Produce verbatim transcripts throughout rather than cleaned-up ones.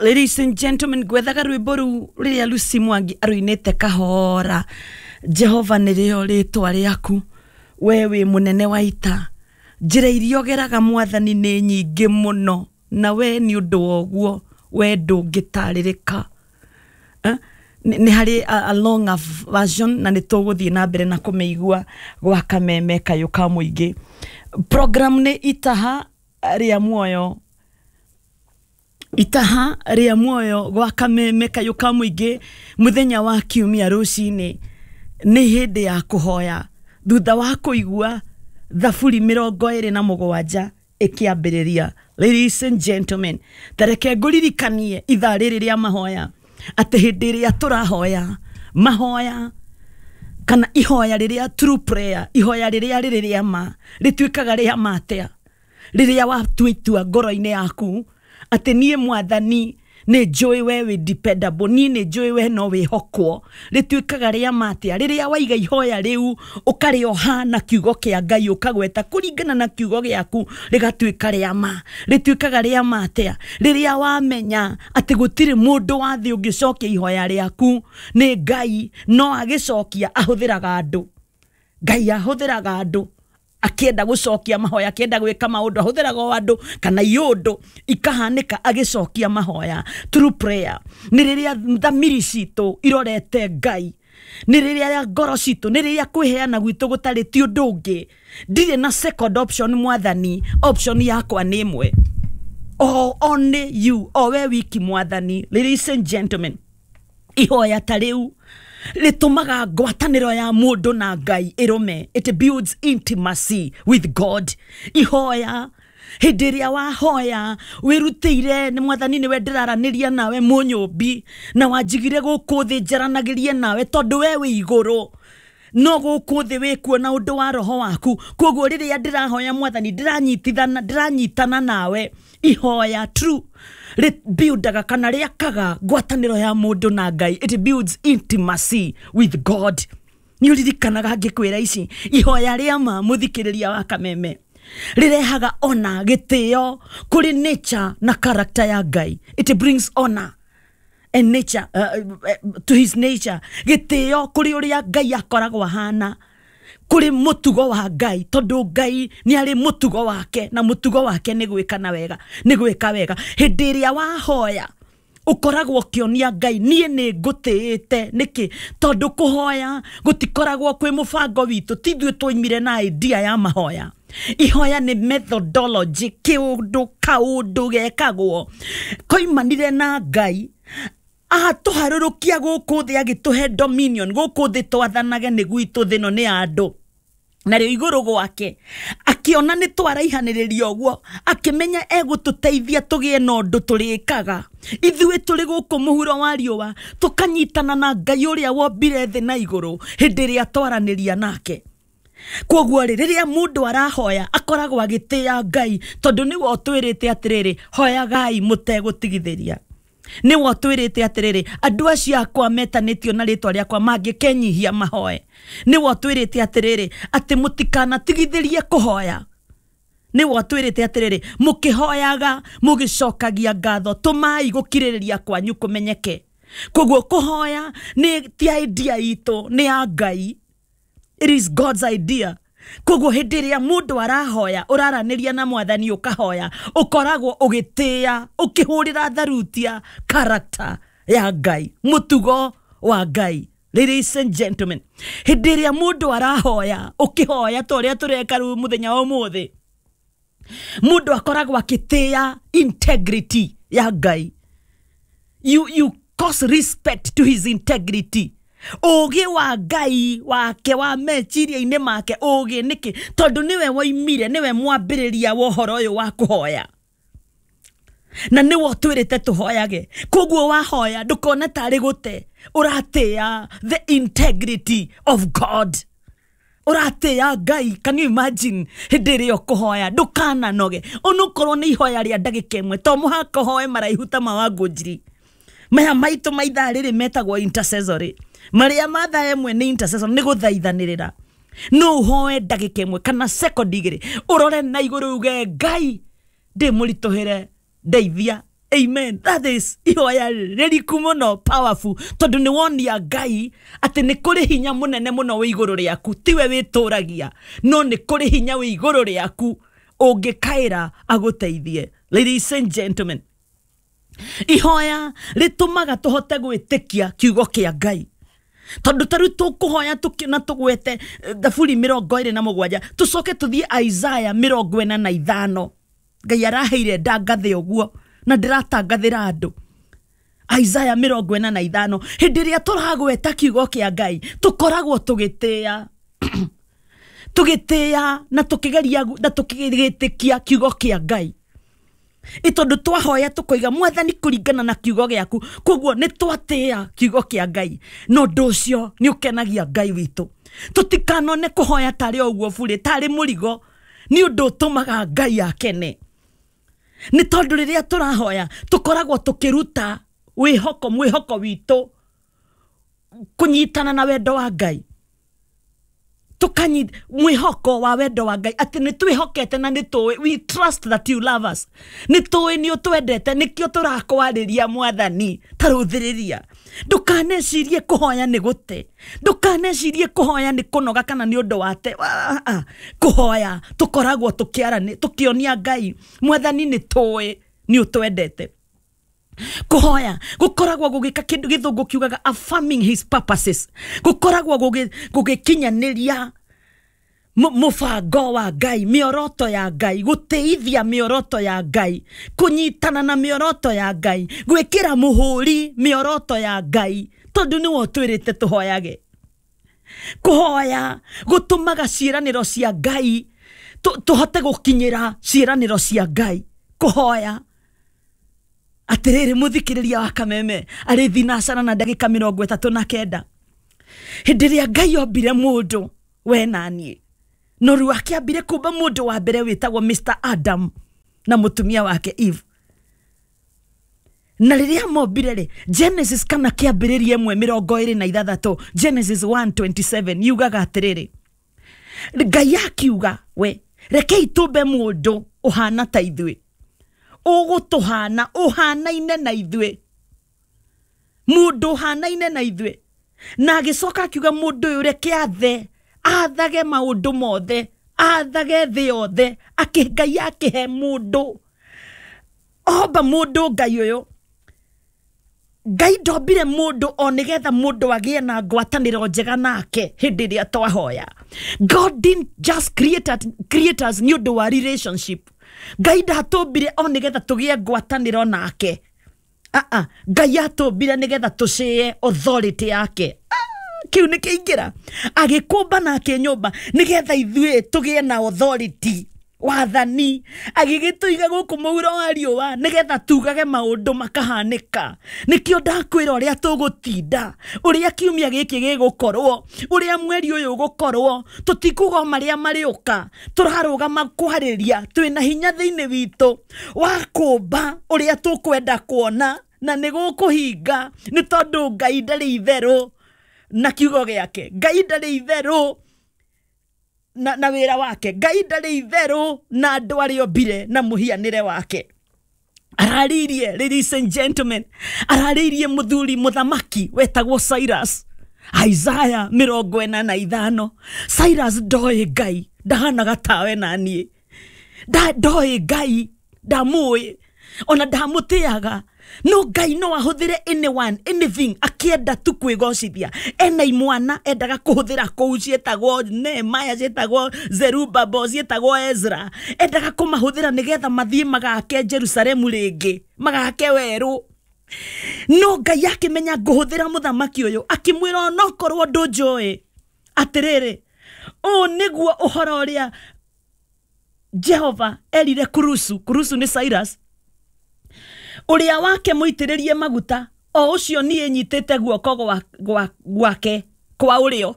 Ladies and gentlemen, gwethaga rwĩmbo rũu rĩrĩa Lucy Mwangi arũinĩte kahora. Jehova nĩrĩo rĩtwa rĩaku, we wĩ mũnene wa ita. Njĩra iria ũgeraga mwathani nĩ nyingĩ mũno, na we nĩ ũndũ wa ũguo we ndũngĩtarĩrĩka. Eh? Nĩ nĩ harĩ a, a longer version na nĩ tũgũthiĩ na mbere na kũmĩigua gwa kameme kayũ ka mũingĩ. Program nĩ Itaha rĩa Muoyo, Itaha rĩa Muoyo gwa kameme kayũ ka mũingĩ. Mũthenya wa kiumia rũcinĩ nĩ hĩndĩ ya kũhoya thutha wa kũigua Thaburi mĩrongo ĩrĩ na mũgwanja ĩkĩambĩrĩria. Ladies and gentlemen, tareke ngũririkanie ithaa rĩrĩ rĩa mahoya atĩ hĩndĩ ĩrĩa tũrahoya mahoya kana ihoya rĩrĩa true prayer, ihoya rĩrĩa rĩrĩ rĩa ma, rĩtuĩkaga rĩa ma atĩa? Rĩrĩa watua itua ngoro-inĩ yaku atĩ niĩ mwathani nĩ njũĩ we wĩ dependable, niĩ nĩ njũĩ we no wĩhokwo, rĩtuĩkaga rĩa ma atĩa? Rĩrĩa waiga ihoya rĩu ũkarĩoha na kiugo kĩa Ngai, ũkagweta kũringana na kiugo gĩaku, rĩgatuĩka rĩa ma. Rĩtuĩkaga rĩa ma atĩa? Rĩrĩa wamenya atĩ gũtirĩ mũndũ wa thĩ ũngĩcokia ihoya rĩaku, nĩ Ngai no agĩcokia ahũthĩraga andũ. Ngai ahũthĩraga andũ akĩenda gũcokia mahoya, akĩenda gwĩka maũndũ ahũthĩraga o andũ kana iũndũ ikahanĩka agĩcokia mahoya. True prayer nĩ rĩrĩa thamiri citũ irorete Ngai, nĩ rĩrĩa ngoro citũ, nĩ rĩrĩa kwĩheana gwitũ gũtarĩ ti ũndũ ũngĩ. Ndirĩ na second option mwathani, option yakwa nĩ ĩmwe, o only you, o we wiki mwathani. Ladies and gentlemen, ihoya ta rĩu rĩtũmaga ngwatanĩro ya mũndũ na Ngai ĩrũme. It builds intimacy with God. Ihoya hĩndĩ ĩrĩa wahoya wĩrutĩire nĩ mwathani, nĩwe ndĩraranĩria nawe mũnyũmbi, na wanjigire gũkũ thĩ njaranagĩrie nawe tondũ we wĩ igũrũ no gũkũ thĩ wĩkuo na ũndũ wa roho waku. Koguo rĩrĩa ndĩrahoya mwathani, ndĩranyitithana, ndĩranyitana nawe. Ihoya true rĩbuildaga kana rĩakaga ngwatanĩro ya mũndũ na Ngai. It builds intimacy with God. Nĩ ũririkanaga ngĩkwĩra ici, ihoya rĩa ma, mũthikĩrĩria wa kameme, rĩrehaga ona gĩtĩo kũrĩ nature na character ya Ngai. It brings honor and nature uh, uh, to his nature. Gĩtĩo kũrĩ ũrĩa Ngai akoragwo ahana, kũrĩ mũtugo wa Ngai, tondũ Ngai nĩ arĩ mũtugo wake na mũtugo wake nĩ gwĩka na wega, nĩ gwĩka wega. Hĩndĩ ĩrĩa wahoya ũkoragwo ũkĩonia Ngai niĩ nĩ ngũtĩĩte. Nĩkĩ? Tondũ kũhoya gũtikoragwo kwĩ mũbango witũ, ti ithuĩ twoimire na idea ya mahoya. Ihoya nĩ methodology, kĩũndũ kaũndũ gekagwo koimanire na Ngai atũharũrũkia gũkũ thĩ, agĩtũhe dominion gũkũ thĩ twathanage. Nĩ gwitũ, thĩ ĩno nĩ ya andũ narĩo igũrũ gwake. Akĩona nĩ twaraihanĩrĩria ũguo, akĩmenya egũtũteithia tũgĩe na ũndũ tũrĩkaga ithuĩ tũrĩ gũkũ mũhuro wa riũa, tũkanyitana na Ngai ũrĩa wombire thĩ na igũrũ hĩndĩ ĩrĩa twaranĩria nake. Koguo rĩ, rĩrĩa mũndũ arahoya akoragwo agĩtĩĩa Ngai, tondũ nĩwe ũtwĩrĩte atĩrĩrĩ, hoyagai mũtegũtigithĩria. Nĩwe ũtwĩrĩte atĩrĩrĩ, andũ acio akwa metanĩtio na rĩtwa rĩakwa mangĩkenyihia mahoe. Nĩwe ũtwĩrĩte atĩrĩrĩ, atĩ mũtikanatigithĩrie kũhoya. Nĩwe ũtwĩrĩte atĩrĩrĩ, mũkĩhoyaga mũgĩcokagia ngatho, tũmai gũkirĩrĩria kwanyu kũmenyeke. Koguo kũhoya nĩ ti idea itũ, nĩ ya Ngai. It is God's idea. Koguo hĩndĩ ĩrĩa mũndũ arahoya, ũraranĩria na mwathani ũkahoya, ũkoragwo ũgĩtĩĩa, ũkĩhũrĩra tharutia character ya Ngai, mũtugo wa Ngai. Ladies and gentlemen, hĩndĩ ĩrĩa mũndũ arahoya, ũkĩhoya ta ũrĩa tũreka rĩu mũthenya wa ũmũthĩ, mũndũ akoragwo akĩtĩĩa integrity ya Ngai. you, you cause respect to his integrity, ũgĩ wa Ngai wake wa meciria-inĩ make. Ũgĩ nĩkĩ? Tondũ nĩwe woimire, nĩwe mwambĩrĩria wa ũhoro ũyũ wa kũhoya na nĩwe ũtwĩrĩte tũhoyage. Koguo wahoya ndũkone tarĩ gũte, ũratĩĩa the integrity of God, ũratĩĩa Ngai. Can you imagine? Hĩndĩ ĩrĩa ũkũhoya ndũkananoge, onokorwo nĩ ihoya rĩa ndagĩka ĩmwe. To mũhaka ũhoe maraihu ta ma Wangũnjiri. Maya maitũ ma ithaa rĩrĩ metagwo intercessory, marĩa ma thaa ĩmwe nĩ intercessory, nĩ gũthaithanĩrĩra. No ũhoe ndagĩka ĩmwe kana second igĩrĩ, ũrore na igũrũ uge, Ngai, ndĩ mũritũhĩre, ndeithia. Amen. That is ihoya rĩriku mũno, powerful, tondũ nĩ wonia Ngai atĩ nĩ kũrĩ hinya mũnene mũno wĩ igũrũ rĩaku. Tiwe wĩtũragia, no nĩ kũrĩ hinya wĩ igũrũ rĩaku ũngĩkaĩra agũteithie. Ladies and gentlemen, ihoya rĩtũmaga tũhote gwĩtĩkia kiugo kĩa Ngai. Tondũ ta rĩu tũkũhoya na tũgwete Thaburi mĩrongo ĩrĩ na mũgwanja, tũcoke tũthiĩ Isaiah mĩrongo ĩna na ithano. Ngai araheire ndangathe ũguo na ndĩratangathĩra andũ. Isaiah mĩrongo ĩna na ithano, hĩndĩ ĩrĩa tũragweta kiugo kĩa Ngai tũkoragwo tũgĩtĩĩa tũgĩtĩĩa na tũkĩgeria na tũkĩgĩtĩkia kiugo kĩa Ngai. Ĩtondũ twahoya tũkoiga Mwathani kũringana na kiugo gĩaku, koguo nĩ twatĩĩa kiugo kĩa Ngai, na ũndũ ũcio nĩ ũkenagia Ngai witũ. Tũtikanone kũhoya tarĩ o ũguo burĩ, tarĩ mũrigo, nĩ ũndũ ũtũmaga Ngai akene. Nĩ tondũ rĩrĩa tũrahoya tũkoragwo tũkĩruta wĩhoko, mwĩhoko witũ kũnyitana na wendo wa Ngai. Tukanyi mwĩhoko wa wendo wa Ngai atĩ nĩ twĩhokete na nĩ tũĩ, we trust that you love us, nĩ tũĩ nĩ ũtwendete, nĩkĩo tũrakwarĩria Mwathani. Ta rũthĩrĩria, ndũkanecirie kũhoya nĩ gũte, ndũkanecirie kũhoya nĩ kũnoga kana nĩ ũndũ wa te. Kũhoya tũkoragwo tũkĩarani, tũkĩonia Ngai Mwathani nĩ tũĩ nĩ ũtwendete. Kũhoya gũkoragwo gũgĩka kĩndũ gĩthũngũ kiugaga affirming his purposes, gũkoragwo gũgĩkinyanĩria mũbango wa Ngai, mĩoroto ya Ngai, gũtĩithia mĩoroto ya Ngai, kũnyitana na mĩoroto ya Ngai, gwĩkĩra mũhũri mĩoroto ya Ngai, tondũ nĩwe ũtwĩrĩte tũhoyage. Kũhoya gũtũmaga ciĩranĩro cia Ngai tũhote gũkinyĩra ciĩranĩro cia Ngai. Kũhoya atĩrĩrĩ, mũthikĩrĩria wa Kameme arĩ thinacara na ndagĩka mĩrongo ĩtatũ na kenda, hĩndĩ ĩrĩa Ngai ombire mũndũ we na niĩ, no rĩu akĩambire kũmba mũndũ wa mbere wĩtagwo Mister Adam na mũtumia wake Eve. Na rĩrĩa mombire rĩ, Genesis kana kĩambĩrĩria ĩmwe mĩrongo ĩrĩ na ithathatũ, Genesis one twenty-seven yugaga atĩrĩrĩ, Ngai akiuga we rekei tũmbe mũndũ ũhana ta ithuĩ, ũgũtũhana, ũhanaine na ithuĩ, mũndũ ũhanaine na ithuĩ. Na agĩcoka akiuga mũndũ ũyũ reke athe, athage maũndũ mothe, athage thĩ yothe. Akĩ Ngai akĩhe mũndũ, omba mũndũ Ngai ũyũ. Ngai ndombire mũndũ o nĩgetha mũndũ agĩe na ngwatanĩro njega nake hĩndĩ ĩrĩa twahoya. God didn't just create, create us nĩ ũndũ wa relationship. Ngai ndatũmbire o nĩgetha tũgĩe ngwatanĩro nake. Ah, Ngai atũmbire nĩgetha tũcĩe authority yake. Kĩu nĩ kĩingĩra. Agĩkũmba nake nyũmba nĩgetha ithuĩ tũgĩe na authority, wathani. Agĩgĩtũiga gũkũ mũhuro wa riũa nĩgetha tugage maũndũ makahanĩka. Nĩkĩo ndakwĩra ũrĩa tũgũtinda, ũrĩa kiumia gĩkĩ gĩgũkorwo, ũrĩa mweri ũyũ ũgũkorwo, tũtikuga marĩa marĩũka, tũrarũgama kwarĩria twĩna hinya thĩinĩ witũ wa kũmba ũrĩa tũkwenda kuona, na nĩ gũkũhinga, nĩ tondũ Ngai ndarĩ itherũ na kiugo gĩake, Ngai ndarĩ itherũ na, na wĩra wake, Ngai ndarĩ itherũ na andũ arĩa ombire na mũhianĩre wake. Ararĩirie, ladies and gentlemen, ararĩirie mũthuri mũthamaki wetagwo Cyrus. Isaiah mĩrongo ĩna na ithano. Cyrus ndoĩ Ngai, ndahanaga tawe na niĩ, ndoĩ Ngai, ndamũĩ ona ndamũtĩaga, no Ngai no ahũthĩre anyone, anything akĩenda tu kwĩgocithia. Ena imwana endaga kũhũthĩra kũu ciĩtagwo Nehemiah, ciĩtagwo Zerubbabel, ciĩtagwo Ezra, endaga kũmahũthĩra nĩgetha mathiĩ magake Jerusalemu rĩngĩ, magake werũ. No Ngai akĩmenya ngũhũthĩra mũthamaki ũyũ, akĩmwĩra onokorwo ndũnjũĩ, atĩrĩrĩ, ũũ nĩguo ũhoro ũrĩa Jehova erire Kurusu. Kurusu nĩ Cyrus, ũrĩa wake mũitĩrĩrie maguta, o ũcio niĩ nyitĩte guoko gwake kwa ũrĩo.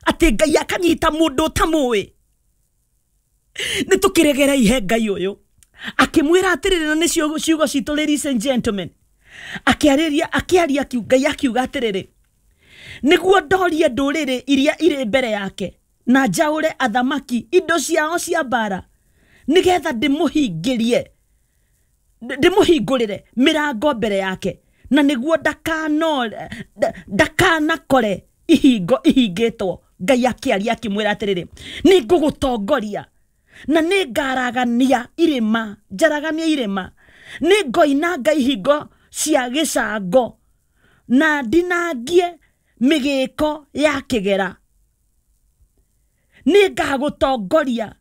Atĩ Ngai akanyita mũndũ ũtamũĩ. Nĩ tũkĩregera ihe Ngai ũyũ. Akĩmwĩra atĩrĩrĩ, na nĩ ciugo citũ, ladies and gentlemen, akĩarĩria, akĩaria Ngai akiuga atĩrĩrĩ, nĩguo ndorie ndũrĩrĩ iria irĩ mbere yake na njaũre athamaki indo ciao cia mbara, nĩgetha ndĩmũhingĩrie Ndĩmũhingũrĩre mĩrango mbere yake, na nĩguo ndakano ndakanakore ihingo ihingĩtwo. Ngai akĩaria akĩmwĩra atĩrĩrĩ, nĩ ngũgũtongoria na nĩ ngaragania irĩma, njaragania irĩma, nĩ ngoinanga ihingo cia gĩcango na ndinangie mĩgĩko ya kĩgera. Nĩ ngagũtongoria,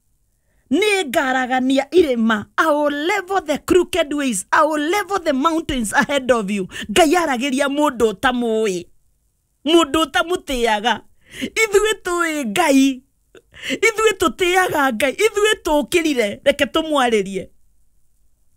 nĩ ngaragania irĩma. I will level the crooked ways, I will level the mountains ahead of you. Ngai aragĩria mũndũ ũtamũĩ, mũndũ ũtamũtĩaga. Ithuĩ tũĩ Ngai, ithuĩ tũtĩaga Ngai, ithuĩ tũkĩrire, reke tũmwarĩrie.